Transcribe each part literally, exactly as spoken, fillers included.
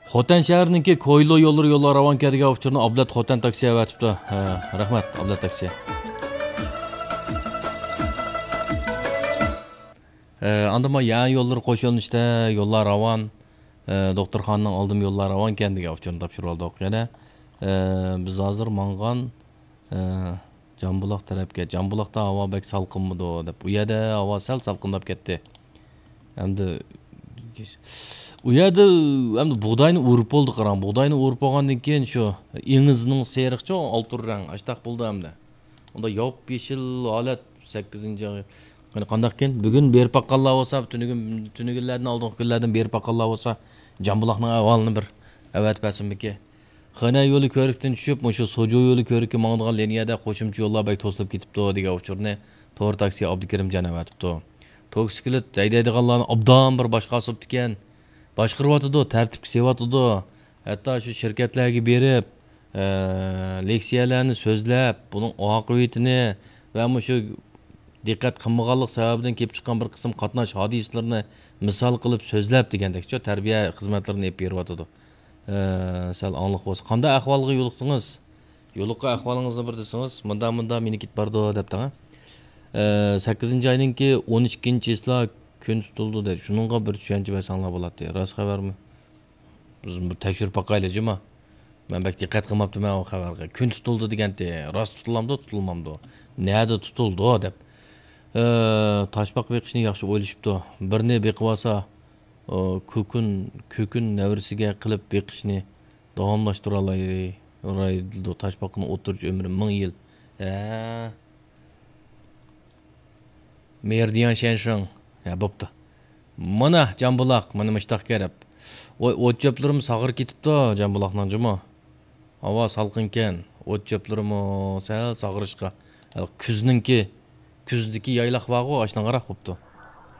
خوتەن شەھىرىنىڭكى كويلۇ يوللىرى يوللار راۋانكەن دېگەن ئۇچۇرنى ئابلەت خوتەن تاكسى ئەۋەتىپتۇ. ھە، رەھمەت، ئابلەت تاكسى. ھە، ئاندىن ما يەنە يوللىرى قوش يۆنىلىشتە يوللار راۋان، ھە، دوختۇرخانىنىڭ ئالدىمۇ يوللار راۋانكەن دېگەن ئۇچۇرنى تاپشۇرۇۋالدۇق يەنە. ھە، بىز ھازىر ماڭغان، ھە، جامبۇلاق تەرەپكە. جامبۇلاقتا ھاۋا بەك سالقىنمىدۇ دەپ. ئۇ يەردە ھاۋا سەل سالقىنداپ كەتتى. ئەمدى ئۇ يەردە ئەمدى بۇغداينى ئورۇپ بولدى، قاراڭ. بۇغداينى ئورۇپ بولغاندىن كېيىن شۇ ئېڭىزنىڭ سېرىقچە ئالتۇن رەڭ، ئاشتاق بولدى ئەمدى. ئۇندا ياپيېشىل ھالەت سەككىزىنچى ئاي. قېنى قانداقكىن؟ بۈگۈن بېرىپ باققانلار بولسا، تۈنۈگۈن، تۈنۈگۈنلەردىن ئالدىنقى كۈنلەردىن بېرىپ باققانلار بولسا، جامبۇلاقنىڭ ئەھۋالىنى بىر ئەۋەتىپ بەرسۇنمىكىن. خېنەن يولى كۆۋرۈكتىن چۈشۈپ، مۇشۇ سوجۇ يولى كۆۋرۈككە ماڭىدىغان لىنىيەدە قوشۇمچە يوللار بەك توسۇلۇپ كېتىپتۇ، دېگەن ئۇچۇرنى تور تاكسى ئابدۇكېرىمجان ئەۋەتىپتۇ. توكسىكلىت ھەيدەيدىغانلارنى ئوبدان بىر باشقا ئاسىۋاپتىكەن. باشقۇرۇۋاتىدۇ، تەرتىپكە سېلىۋاتىدۇ. ھەتتا شۇ شىركەتلەرگە بېرىپ، ئە، لېكسىيەلەرنى سۆزلەپ، بۇنىڭ ئاقىۋىتىنى ۋە مۇشۇ دىققەت قىلمىغانلىق سەۋەبىدىن كېلىپ چىققان بىر قىسىم قاتناش ھادىسىلىرىنى مىسال قىلىپ سۆزلەپ دېگەندەكچۇ، تەربىيە خىزمەتلىرىنى ئېلىپ بېرىۋاتىدۇ. ئە، سەل ئاڭلىق بولسا. قانداق ئەھۋالغا يولۇقتىڭىز؟ يولۇققان ئەھۋالىڭىزنى بىر دېسىڭىز، مۇنداق، مۇنداق مېنى كېتىپ بارىدۇ دەپتىڭ، ھە؟ ئە، سەككىزىنچى ئاينىڭكى ئون ئىككىنچى چىسلا كۈن تۇتۇلدى دەيدۇ. شۇنىڭغا بىر چۈشەنچە بەرسەڭلار بولاتتى. راست خەۋەرمۇ؟ بىز بىر تەكشۈرۈپ باقايلى جۇما. مەن بەك دىققەت قىلماپتىمەن ئۇ خەۋەرگە. كۈن تۇتۇلدى دېگەنتى. راست تۇتۇلامدۇ، تۇتۇلمامدۇ؟ نەدە تۇتۇلدۇ دەپ. ئە، تاشپاقا بېقىشنى ياخشى ئويلىشىپتۇ. بىرنى بېقىۋالسا، ئۇ، كۈكۈن، كۈكۈن نەۋرىسىگە قىلىپ بېقىشنى داۋاملاشتۇرالايدۇ. تاشپاقىنىڭ ئوتتۇرىچە ئۆمرى مىڭ يىل. ھە. مېرىدىيان شيەنشىڭ. ھە، بوپتۇ. مانا، جامبۇلاق، مانا مۇشتاق كېرىپ. ۋاي، ئوت چۆپلىرىمۇ ساغىرىپ كېتىپتۇ، جامبۇلاقنىڭ جۇمۇ. ھاۋا سالقىنكەن، ئوت چۆپلىرىمۇ سەل ساغىرىشقا. ھېلىقى كۈزنىڭكى، كۈزدىكى يايلاق بارغۇ، ئاشۇنىڭغا قاراپ بوپتۇ.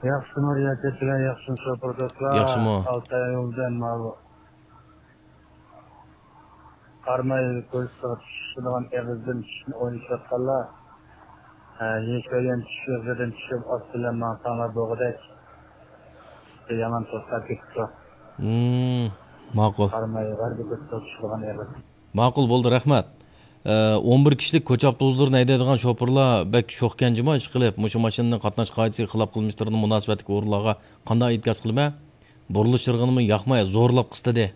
ياخشىمۇ رىياسەتچىلەر، ياخشىمۇ شوپۇر دوستلار؟ ياخشىمۇ؟ ئالتاي يولدىن ماۋۇ قاراماي كوچىسىغا چۈشىدىغان ئېغىزدىن چۈشۈشنى ئويلىشىۋاتقانلار، ھە، يېشىل يەن چۈشۈش ئېغىزىدىن چۈشۈپ، ئاستى بىلەن ماڭساڭلار بولغۇدەك. يامان توختاپ كېتىپتۇ. ھىم، ماقۇل. قاراماي غەربىي كوچىسىغا چۈشىدىغان ئېغىز. ماقۇل، بولدى، رەھمەت. ئە، ئون بىر كىشىلىك كوچا ئاپتوبۇسلىرىنى ھەيدەيدىغان شوپۇرلار بەك شوخكەنجىما ئىشقىلىپ، مۇشۇ ماشىنىنىڭ قاتناش قائىدىسىگە خىلاپ قىلمىشلىرىنىڭ مۇناسىۋەتلىك ئورۇنلارغا قانداق ئىنكاس قىلىمەن؟ بۇرۇلۇش چىرىغىنىمۇ ياقماي، زورلاپ قىستىدى.